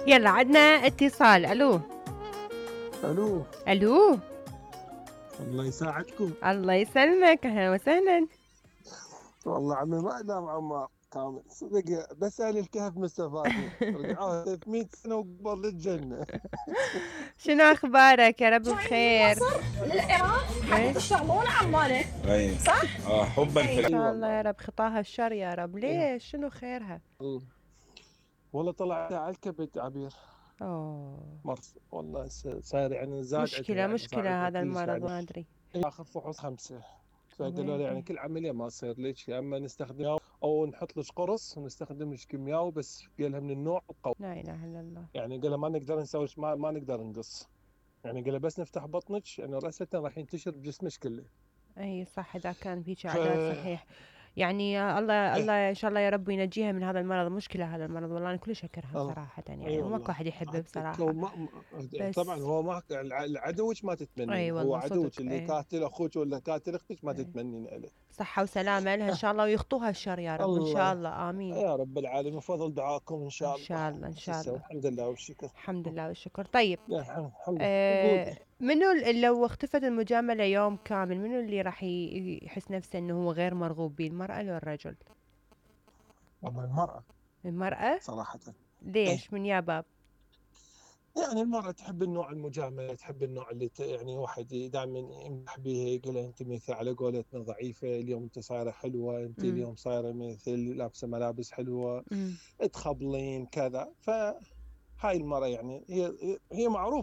يلا عدنا اتصال. الو الو، الو، الله يساعدكم. الله يسلمك، اهلا وسهلا. والله عمي ما انام عمار كامل صدق، بس اهل الكهف مستفادين رجعوها 300 سنه وقبل الجنه. شنو اخبارك؟ يا رب بخير. مصر للعراق حتى تشتغلون عماله. اي صح؟ حبا في ان اي شاء الله والله. يا رب، خطاها الشر يا رب. ليش؟ شنو خيرها؟ والله طلع على الكبد عبير. اوه، مرض والله، صاير يعني زاد عندها، مشكلة يعني صار مشكلة عندها هذا كلش المرض، يعني ما ادري. اخر فحوص 5. فقالوا لي يعني ويلي. كل عمليه ما تصير لك، يا اما نستخدم او نحط لك قرص ونستخدم لك كيماوي، بس قالها من النوع القوي. لا اله الا الله. يعني قالها ما نقدر نسوي، ما نقدر نقص. يعني قالها بس نفتح بطنك، يعني راسا راح ينتشر بجسمك كله. اي صح، اذا كان بهيك ف عادات صحيح. يعني الله ايه الله ان شاء الله يا رب ينجيها من هذا المرض. مشكلة هذا المرض والله، انا كلش اكرهه الله. بصراحة، اي يعني وماكو والله. احد يحبه حتى لو بصراحة. طبعا بس هو ما عدوك ما اي تتمنين، هو والله صدق. عدوك اللي اي قاتل اخوك ولا قاتل اختك ما اي، تتمنين عليه. صحة وسلامة لها ان اه. شاء الله، ويخطوها الشر يا رب ان شاء الله الله، امين. يا رب العالمين، بفضل دعاكم ان ان شاء الله. شاء الله ان شو شاء نسوي، الله. الحمد لله والشكر. الحمد لله والشكر. طيب، يا الحمد لله. قولي. منو لو اختفت المجاملة يوم كامل، منو اللي راح يحس نفسه انه هو غير مرغوب به، المرأة لو الرجل؟ والله المرأة المرأة. صراحة. ايه، ليش؟ من يا باب؟ يعني المرأة تحب النوع المجاملة، تحب النوع اللي يعني واحد دائما يمدح بها، يقول انت مثل على قولتنا ضعيفة، اليوم انت صايرة حلوة، انت امم. اليوم صايرة مثل لابسة ملابس حلوة، امم. تخبلين كذا. فهاي المرأة يعني هي معروفة.